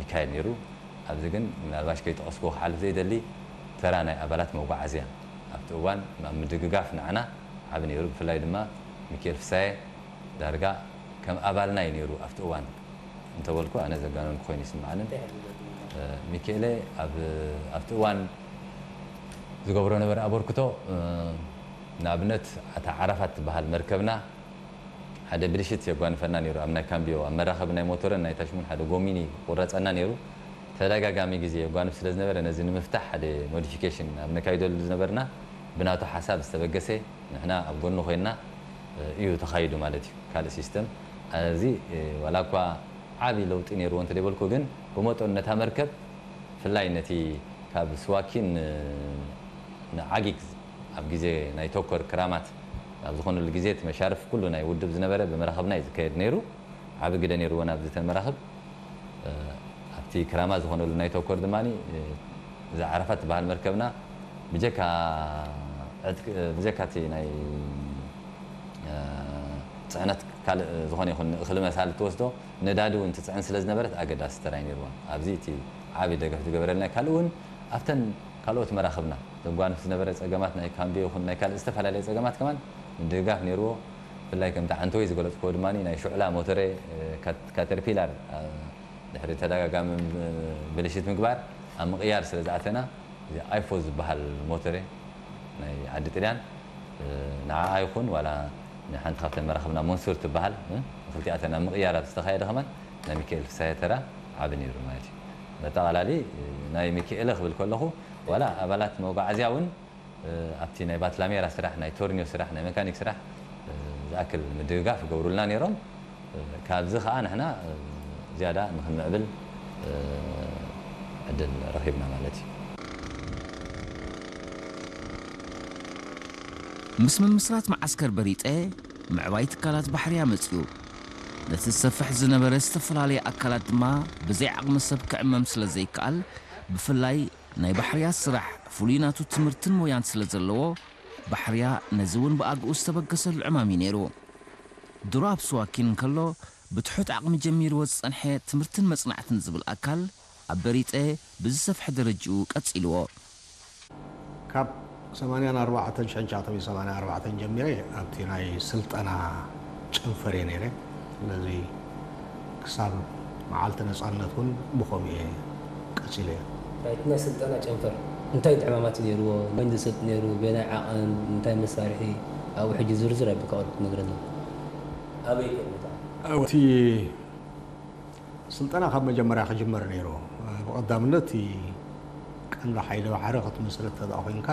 ይካየድ ነይሩ። ኣብዚ ግን ምናልባሽ ከይጠቐስኩ ክሓልፍ ዘይደሊ፣ ተራ ናይ ኣባላት መጓዓዝያ ኣብቲ እዋን ኣብ ምድግጋፍ ንዓና ዓቢ ነይሩ። ብፍላይ ድማ ሚካኤል ፍሳየ ዳርጋ ከም ኣባልና እዩ ነይሩ ኣብቲ እዋን እንተበልኩ ኣነ ዘጋነንኩ ኮይኑ ይስምዓንን። ሚካኤለ ኣብ ኣብቲ እዋን ዝገብሮ ነበረ ኣበርክቶ፣ ንኣብነት ኣታ ዓራፋት ትበሃል መርከብና ሓደ ብልሽት የጓንፈና ነይሩ። ኣብ ናይ ካምቢዮ ኣብ መራኸቢ ናይ ሞተርን ናይ ታሽሙን ሓደ ጎሚኒ ቁረፀና ነይሩ። ተደጋጋሚ ግዜ የጓንፍ ስለ ዝነበረ ነዚ ንምፍታሕ ሓደ ሞዲፊኬሽን ኣብ ነካይደሉ ዝነበርና ብናቱ ሓሳብ ዝተበገሰ ንሕና ኣብ ጎኑ ኮይንና እዩ ተኻይዱ ማለት እዩ። ካልእ ሲስተም እዚ ዋላ እኳ ዓቢ ለውጢ ነይርዎ እንተደይበልኩ ግን ብመጠኑ ነታ መርከብ ብፍላይ ነቲ ካብ ስዋኪን ንዓጊግ ኣብ ግዜ ናይ ቶኮር ክራማት ኣብ ዝኾነሉ ግዜ እቲ መሻርፍ ኩሉ ናይ ውድብ ዝነበረ ብመራኽብና እዩ ዝካየድ ነይሩ። ዓቢ ግደ ነይርዎ ናብዚ ተን መራኽብ። ኣብቲ ክራማ ዝኾነሉ ናይ ቶኮር ድማ እዛ ዓረፋ ትበሃል መርከብና ብጀካ ዕጥቂ ብጀካ እቲ ናይ ፅዕነት ካልእ ዝኾነ ይኹን እኽሊ መሳሊ ትወስዶ ነዳዲ እውን ትፅዕን ስለ ዝነበረት ኣገዳሲ ተራይ ነይርዋ። ኣብዚ እቲ ዓቢ ደገፍ ዝገበረልና ካልእ እውን ኣብተን ካልኦት መራኽብና ዘጓንፍ ዝነበረ ጸገማት ናይ ካምቢ ይኹን ናይ ካልእ ዝተፈላለየ ጸገማት ከማን ምድግጋፍ ነይርዎ። ብፍላይ ከምቲ ዓንተወይ ዝገለጽክዎ ድማ ናይ ሹዕላ ሞተረ ካተርፒላር ድሕሪ ተደጋጋሚ ብልሽት ምግባር ኣብ ምቕያር ስለ ዝኣተና እዚ ኣይፎ ዝበሃል ሞተረ ናይ ዓዲ ጥልያን ንዓኣ ይኹን ዋላ ንሓንቲ ካብተን መራኽብና መንሱር ትበሃል ክልቲኣተን ኣብ ምቕያር ኣብ ዝተኻየደ ከማን ናይ ሚካኤል ፍሳየ ተራ ዓቢ ነይሩ ማለት እዩ። በጠቓላሊ ናይ ሚካኤለ ክብል ከለኹ ዋላ ኣባላት መጓዓዝያ እውን ኣብቲ ናይ ባትላሜራ ስራሕ ናይ ቶርኒዮ ስራሕ ናይ መካኒክ ስራሕ ዝኣክል ምድግጋፍ ይገብሩልና ነይሮም። ካብዚ ከዓ ንሕና ዝያዳ ንክንምዕብል ዕድል ረኺብና ማለት እዩ። ምስ ምምስራት መዓስከር በሪጠ ምዕባይ ትካላት ባሕርያ መፅኡ። ነቲ ዝሰፍሕ ዝነበረ ዝተፈላለየ ኣካላት ድማ ብዘይ ዓቕሚ ሰብ ክዕመም ስለ ዘይከኣል ብፍላይ ናይ ባሕርያ ስራሕ ፍሉይ ናቱ ትምህርትን ሞያን ስለ ዘለዎ ባሕርያ ነዚ እውን ብኣግኡ ዝተበገሰሉ ዕማም እዩ ነይሩ። ድሮ ኣብ ስዋኪን እንከሎ ብትሑት ዓቕሚ ጀሚርዎ ዝጸንሐ ትምህርትን መጽናዕትን ዝብል ኣካል ኣብ በሪጠ ብዝሰፍሐ ደረጅኡ ቀጺልዎ። ካብ ሰማንያን ኣርባዕተን ሸንቻቶም ሰማንያን ኣርባዕተን ጀሚረ ኣብቲ ናይ ስልጠና ጨንፈር እየ ነይረ። ስለዚ ክሳብ መዓልቲ ነፃነት እውን ብኸምኡ እየ ቀፂለ። ናይቲ ናይ ስልጠና ጨንፈር እንታይ ዕማማት እዩ ነይርዎ? መን ዝሰጥ ነይሩ? በየናይ ዓቐን? እንታይ መሳርሒ? ኣብኡ ሕጂ ዝርዝር ኣቢልካ ቁሩብ ክትነግረና። ኣበይ ከ ቦታ? እቲ ስልጠና ካብ መጀመርያ ክጅመር ነይሩ። ብቐዳምነት እቲ ቀንዲ ሓይሊ ባሕሪ ክትምስርት ተደኣ ኮይንካ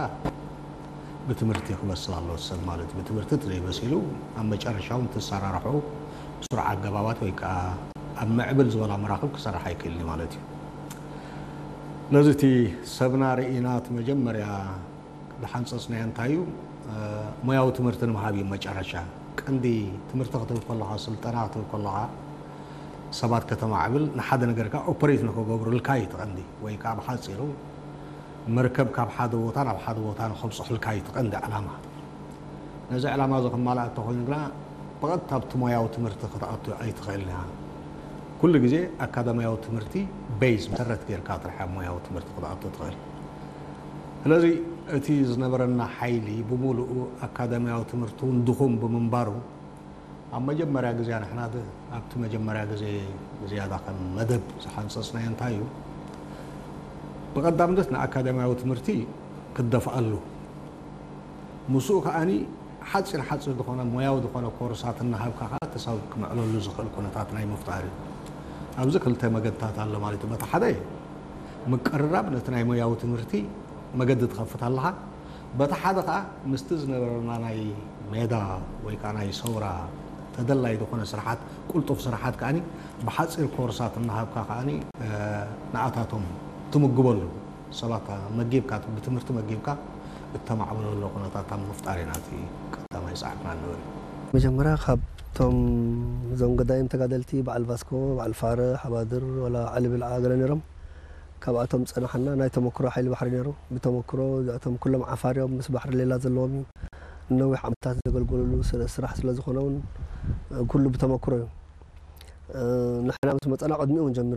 ብትምህርቲ ክበስል ኣለዎ ሰብ ማለት እዩ። ብትምህርቲ ተዘይበሲሉ ኣብ መጨረሻ እውን ትሰራርሑ ብስሩዕ ኣገባባት ወይ ከዓ ኣብ ምዕብል ዝበላ መራኽብ ክሰርሕ ኣይክእልን እዩ ማለት እዩ። ስለዚ እቲ ሰብና ርኢና እቲ መጀመርያ ዝሓንፀፅናዮ እንታይ እዩ? ሞያዊ ትምህርቲ ንምሃብ እዩ መጨረሻ። ቀንዲ ትምህርቲ ክትብል ከለኻ፣ ስልጠና ክትብል ከለኻ ሰባት ከተማዕብል ንሓደ ነገር ከዓ ኦፐሬት ንክገብሩልካ እዩ እቲ ቀንዲ፣ ወይ ከዓ ብሓፂሩ መርከብ ካብ ሓደ ቦታ ናብ ሓደ ቦታ ንከብፅሑልካ እዩ እቲ ቀንዲ ዕላማ። ነዚ ዕላማ እዚ ክማላእ እንተኮይኑ ግና ብቐጥታ ኣብቲ ሞያዊ ትምህርቲ ክትኣቱ ኣይትኽእልን ኢኻ። ኩሉ ግዜ ኣካዳሚያዊ ትምህርቲ ቤዝ መሰረት ጌርካ ጥራሕ ኣብ ሞያዊ ትምህርቲ ክትኣቱ ትኽእል። ስለዚ እቲ ዝነበረና ሓይሊ ብምሉኡ ኣካዳሚያዊ ትምህርቲ እውን ድኹም ብምንባሩ ኣብ መጀመርያ ግዜ ንሕና ኣብቲ መጀመርያ ግዜ ዝያዳ ከም መደብ ዝሓንፀፅናዮ እንታይ እዩ? ብቐዳምነት ንኣካዳሚያዊ ትምህርቲ ክደፍኣሉ ምስኡ ከዓኒ ሓፂር ሓፂር ዝኾነ ሞያዊ ዝኾነ ኮርሳት እናሃብካ ከዓ ተሳብ ክምዕለሉ ዝኽእል ኩነታት ናይ ምፍጣር እዩ። ኣብዚ ክልተ መገድታት ኣሎ ማለት እዩ። በቲ ሓደ ምቅርራብ ነቲ ናይ ሞያዊ ትምህርቲ መገዲ ትኸፍት ኣለኻ። በቲ ሓደ ከዓ ምስቲ ዝነበረና ናይ ሜዳ ወይ ከዓ ናይ ሰውራ ተደላይ ዝኾነ ስራሓት ቁልጡፍ ስራሓት ከዓኒ ብሓፂር ኮርሳት እናሃብካ ከዓኒ ንኣታቶም ትምግበሉ ሰባት መጊብካ ብትምህርቲ መጊብካ እተማዕብለሉ ኩነታት ኣብ ምፍጣር ኢና እቲ ቀዳማይ ፃዕርና ንብል። መጀመርያ ካብቶም እዞም ገዳይም ተጋደልቲ በዓል ቫስኮ፣ በዓል ፋረ፣ ሓባድር፣ ወላ ዓሊ ብልዓ ገለ ነይሮም። ካብኣቶም ዝፀናሓና ናይ ተመክሮ ሓይሊ ባሕሪ ነይሩ። ብተመክሮ እዚኣቶም ኩሎም ዓፋር እዮም፣ ምስ ባሕሪ ሌላ ዘለዎም እዩ። ንነዊሕ ዓመታት ዘገልገሉሉ ስራሕ ስለ ዝኾነ እውን ኩሉ ብተመክሮ እዩ። ንሕና ምስ መፀና ቅድሚኡ እውን ጀሚሮም